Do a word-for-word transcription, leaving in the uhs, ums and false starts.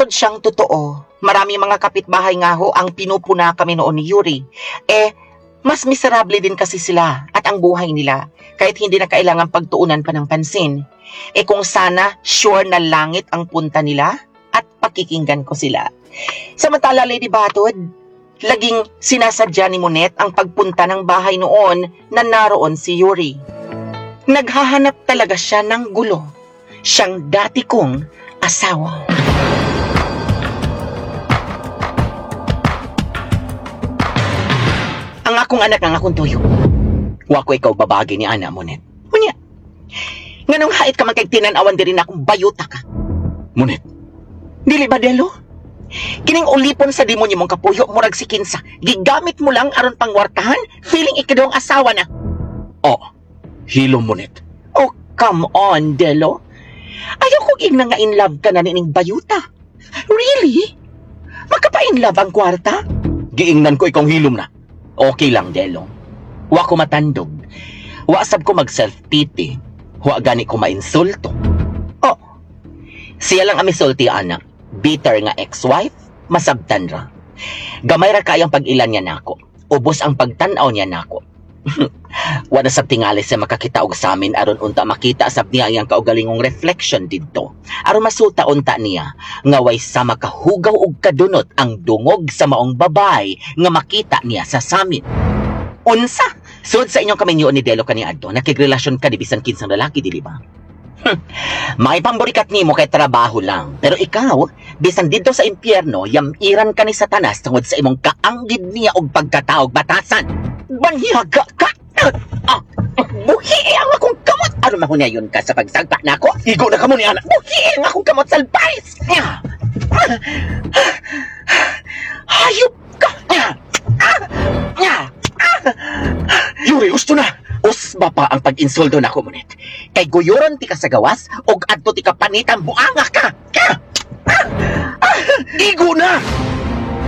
Tinuod siyang totoo. Marami mga kapitbahay nga ho ang pinupuna kami noon ni Yuri. Eh, mas miserable din kasi sila at ang buhay nila kahit hindi na kailangan pagtuunan pa ng pansin. Eh kung sana sure na langit ang punta nila at pakikinggan ko sila. Samantala, Lady Batod, laging sinasadya ni Monet ang pagpunta ng bahay noon na naroon si Yuri. Naghahanap talaga siya ng gulo. Siyang dati kong asawa. Ang akong anak ang akong tuyo. Wa ko ikaw babagi ni ana, Monet. Unya, nganong hait ka man kay tinan-awan diri na akong bayuta ka? Monet, Dili ba, Delo? Kining ulipon sa demonyo mong kapuyo, murag si Kinsa. Gigamit mo lang aron pangwartahan, feeling ikaw ang asawa na. oh, hilom Monet. Oh, come on, Delo. Ayaw kong ingna nga in love ka na nining bayuta. Really? Makapa-in love ang kwarta? Giingnan ko ikong hilom na. Okay lang, Delo. Wa ko matandog. Wa sab ko mag self-pity. Wa gani ko mainsulto. Oh, siya lang ang misulti, anak. Bitter nga ex-wife, masabtan ra. Gamay ra kayang pag-ilan niya nako. Ubos ang pagtan-aw niya nako. Wa na sab tingali siya makakita og sa amin aron unta makita sab niya iyang kaugalingong reflection didto. Aron masuta unta niya nga way sa makahugaw og kadunot ang dungog sa maong babay nga makita niya sa samin. Unsa? Sud sa inyong kaminyoon ni Delo kaniadto, nakigrelasyon ka di bisan kinsang lalaki, dili ba? Hmm. May pamburikat nimo kay trabaho lang. Pero ikaw, bisan didto sa impyerno, yamiran ka ni Satanas tungod sa imong kaanggid niya og pagkataog batasan. Banhihaga ka! Ah, buhi ang akong kamot! Ano mahunayon ka sa pagsagpa nako? Igo na kamo ni ana. Buhi ang akong kamot salbais! Hayop ka! Yuri, gusto na. Usba pa ang pag-insulto nako, Monet. Kay guyuron ti ka sa gawas og adto ti ka panitan buanga ka. Igo na!